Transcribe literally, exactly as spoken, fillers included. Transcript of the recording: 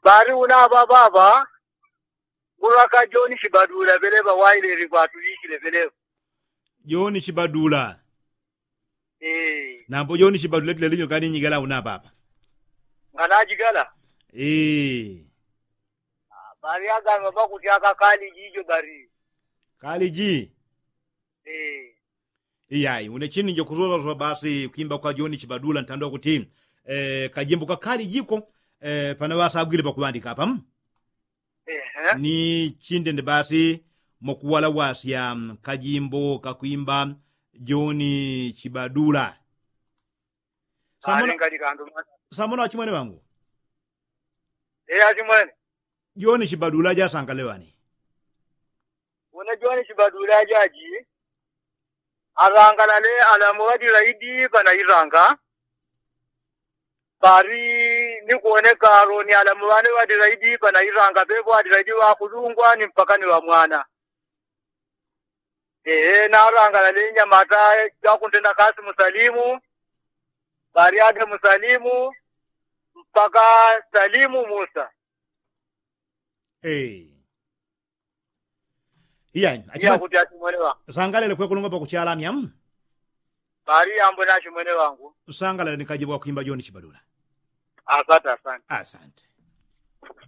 Bari una ŵaŵaŵa ngulwaka joni chibadula ŵeleŵa waileli ngwatulichile ŵeleŵa. Joni chibadula. Nambo joni chibadula tile linyo kani nyigala una ŵaŵa? Nganajigala. Bari aganga ŵakuti aka kaliji ijo bari. Kaliji. Iyai une chini njo kusosola basi kwimba kwa joni chibadula ntandwa kuti kajimbo kakali jiko. Pana ŵasagwile pakuŵandika apa. Ni chindende basi mokuwala wasya kajimbo kakwimba joni chibadula. Samona wachimwene ŵangu. Joni chibadula jasangale ŵani? Une joni chibadula jaji alangalale alamu ŵadilaidi ŵanailanga. Pali ni kuoneka aloni alamu ŵane ŵadilaidi ŵanailanga ŵeŵo ŵadilaidi ŵakulungwa ni mpaka ni ŵamwana. Ehe nalangalale nyamata jakuntenda kasi musalimu. Pali ade musalimu mpaka salimu musa. Iyai. Sangalele kwekulungwa pakuchalamya. Pali ambwe nachimwene ŵangu. Sangalele ni kajibwa kwimba joni chibadula. Asante asante.